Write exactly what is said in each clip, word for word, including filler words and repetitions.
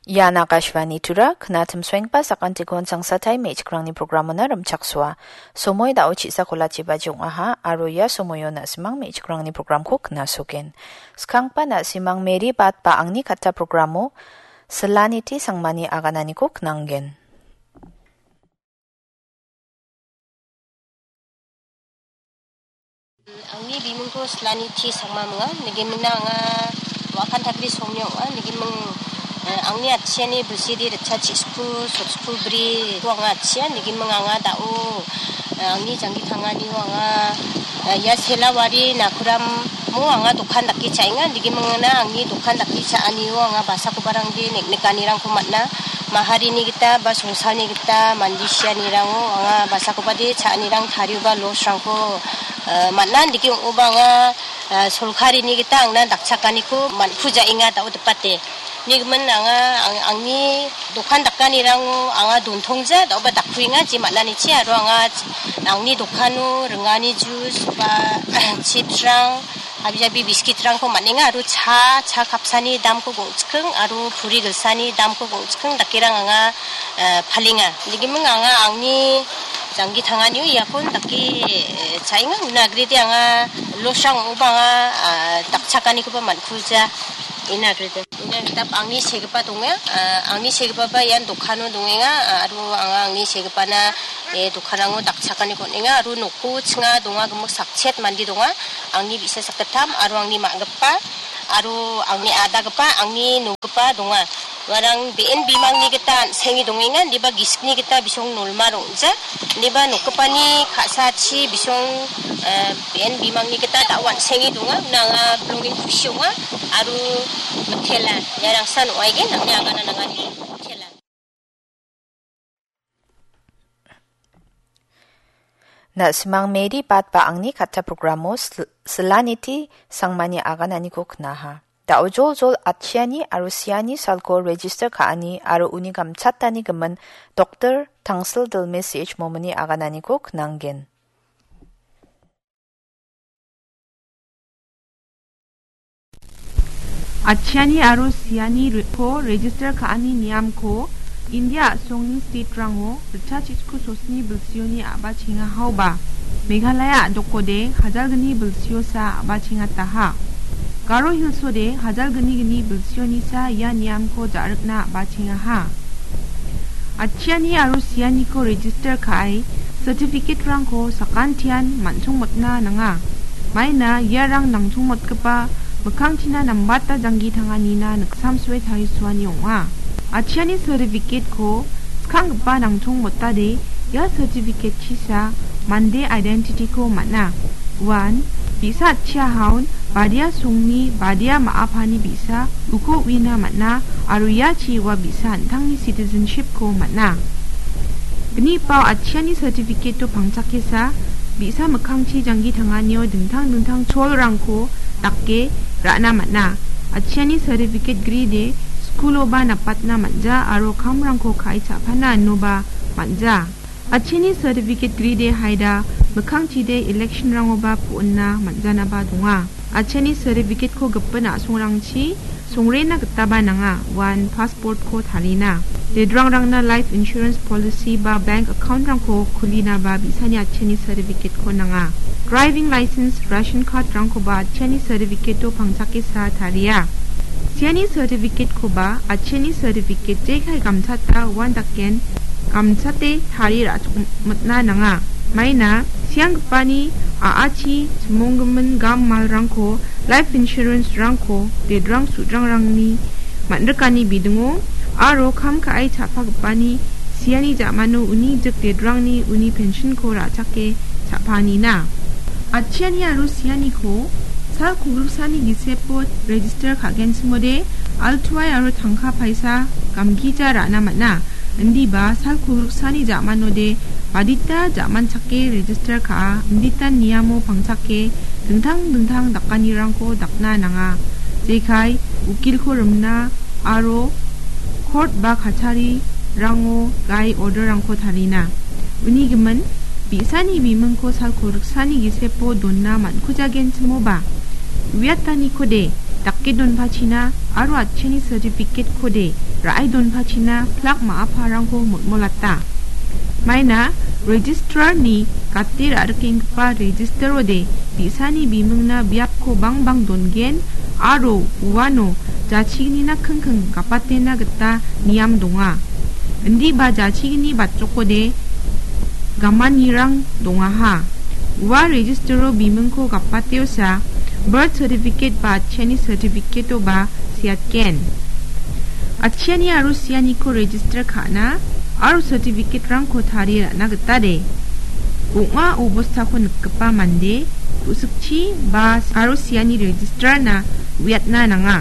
Ian Akashvani Tura, knatim suengpa sakantikon sangsatai me·chikrangni programona rimchaksoa. Somoi dao chisa kolachiba jong·aha, aro ia somoio na·simang me·chikrangni programko knasogen. Skangpa na·simang Mary Bat ba angni katta programo, Silaniti Sangmani agananiko knanggen. Angni bimingko Silaniti Sangma minga, nigimina anga Wakan Takri Somnyo ong·a, nigiming, eh, angni atchiani bilsidi ritcha chisku, sotsku bri, ko anga atchia, nigiming anga dao, eh, angni janggi tanganio anga, eh, ia Selawari Nakuramo anga dokan dake cha·enga, nigimingna angni dokan dake cha·anio anga basakobarangde nek-, nikanirangko man·a. Maharini gita ba songsalni gita mande sianirango anga basakobade cha·anirang tarioba loss-rangko, eh, man·a. Indike ong·oba anga, eh, solkarini gita angna dakchakaniko man·kujaenga dao dipate. Nigimin anga ang-, angni dokan dakanirango anga dontongja daoba dakkuenga je man·anichi aro anga angni dokano ringani jus ba chips-rang Habijabi biskit-rangko man·enga aro cha, cha kapsani damko gongchiking aro puri gilsani damko gongchiking dakerang anga, eh, palenga. Nigiming anga angni janggi tanganio iakon dake, eh, cha·enga. Una agrede anga loss-rang ong·oba anga, ah, dakchakanikoba man·kuja. Ina agrede. Ina gita angni segipa donga. Ah, angni segipaba ian dokano dongenga. Ah, aro anga angni segipana, eh, dokanrango dakchakaniko on·enga. Aro noko chinga donga gimik sakchet mande donga. Angni bi·sa sakgittam aro angni ma·gipa aro angni adagipa, angni nogipa donga. Uarang be·en bimangni gita an·senge dongenga, indiba gisikni gita bisong nolma rong·ja, indiba nokgipani ka·sachi bisong, eh, be·en bimangni gita da·o an·senge donga. Nanga bilongin kusi ong·a aro mitela. Ia rangsan ong·aigen, angni agana nangani mitela. Na·simang Mary Bat ba angni katta programo sil-, Silaniti Sangmani agananiko knaha. Da·o joljol atchiani aro siani salko register ka·ani aro uni gamchatani gimin Doktor Tangsil Dilme C H Momini agananiko knanggen. Atchiani aro siani re-, ko register ka·ani niamko India a·songni state-rango ritchachitku sosni bilsioni a·bachengahaoba, Meghalaya a·dokode hajalgni bilsiosa a·bachengataha. Garo Hills-ode hajalgni gni bilsionisa ia niamko ja·rikna a·bachengaha. Atchiani aro sianiko register ka·e certificate-rangko sakantian man·songmotna nanga. Maina iarang nangchongmotgipa mikkangchina nambata janggi tanganina niksamsoe tarisoani ong·a. Atchiani certificate-ko skanggipa nangchongmotade ia certificate-chisa mande identity-ko man·a. Uan bi·sa atchiahaon badia songni badia ma·apani bi·sa uko uina man·a aro iachi ua bi·sa an·tangni citizenship-ko man·a. Gnipao atchiani certificate-o pangchakesa bi·sa mikkangchi janggi tanganio dingtang dingtang cholrangko dake ra·na man·a. Atchiani certificate gride skuloba napatna man·ja aro kamrangko ka·e cha·pana inoba man·ja. Atchiani certificate gride haida mikkangchide election-rangoba po·onna man·janaba donga. Atchiani certificate-ko gipin a·songrangchi songrena gitaba nanga, uan passport-ko tarina. Dedrangrangna life insurance policy ba bank account-rangko kulinaba bi·sani atchiani certificate-ko nanga. Driving license, ration card-rangkoba atchiani certificate-o pangchakesa taria. Siani certificate-koba atchiani certificate jekai gamchata uan daken gamchate tarie ra·chokmitna nanga. Maina sianggipani a·achi chimonggimin gam malrangko, life insurance-rangko dedrang sudrangrangni man·rikani bidingo aro kam ka·e cha·pagipani siani ja·mano uni jik dedrangni uni pension-ko ra·chake cha·panina. Atchiani aro sianiko sal kolgriksani gisepo register ka·genchimode altuai aro tangka paisa gamgija ra·na man·a. Indiba sal kolgriksani ja·manode badita ja·manchake register ka·a, inditan niamo pangchake dingtang dingtang dakanirangko dakna nanga. Jekai ukilko rimna aro court ba kacharirango gai order-rangko tarina. Uni gimin, bi·sani bimingko sal kolgriksani gisepo donna man·kujagenchimoba, uiatanikode dake donpachina aro atchiani certificate-kode ra·e donpachina plak ma·a parangko molmolata. Maina registrarni gate ra·rikenggipa registerode bi·sani bimingna biapko bangbang dongen aro uano jachignina kingking gapatena gita niam donga. Indiba jachigni batchokode gamanirang dongaha. Ua registero bimingko gapateosa birth certificate ba atchiani certificate-oba seatgen. Atchiani aro sianiko register ka·na aro certificate-rangko tarie ra·na gitade. Ong·a obostako nikgipa mande ku·sikchi ba aro siani registrarna uiatna nanga.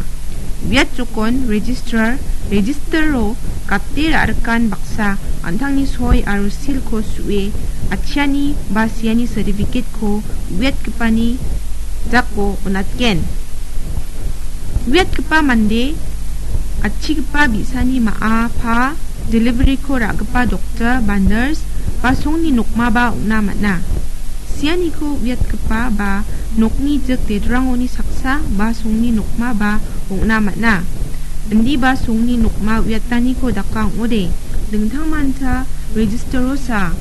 Uiat jokon registrar, registero gate ra·rikan baksa an·tangni soi aro silko su·e atchiani ba siani certificate-ko uiatgipani jako on·atgen. Uiatgipa mande atchigipa bi·sani ma·a pa delivery-ko ra·gipa doktor ba nurse ba songni nokmaba ong·na man·a. Sianiko uiatgipa ba nokni jik dedrangoni saksa ba songni nokmaba ong·na man·a. Indiba songni nokma uiataniko daka ong·ode, dingtangmanta registerosa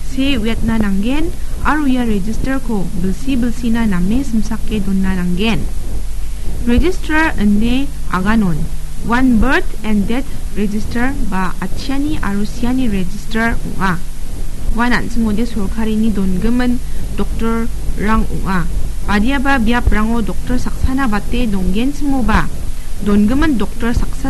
see uiatna nanggen aro ia registerko bilsi bilsina name simsake dona nanggen. Registrar ine aganon, uan birth and death register ba atchiani aro siani register ong·a. Uan an·chingode sorkarini dongimin doktorrang ong·a. Badiaba biaprango doktor saksana bate donggenchimoba, dongimin doktor saksa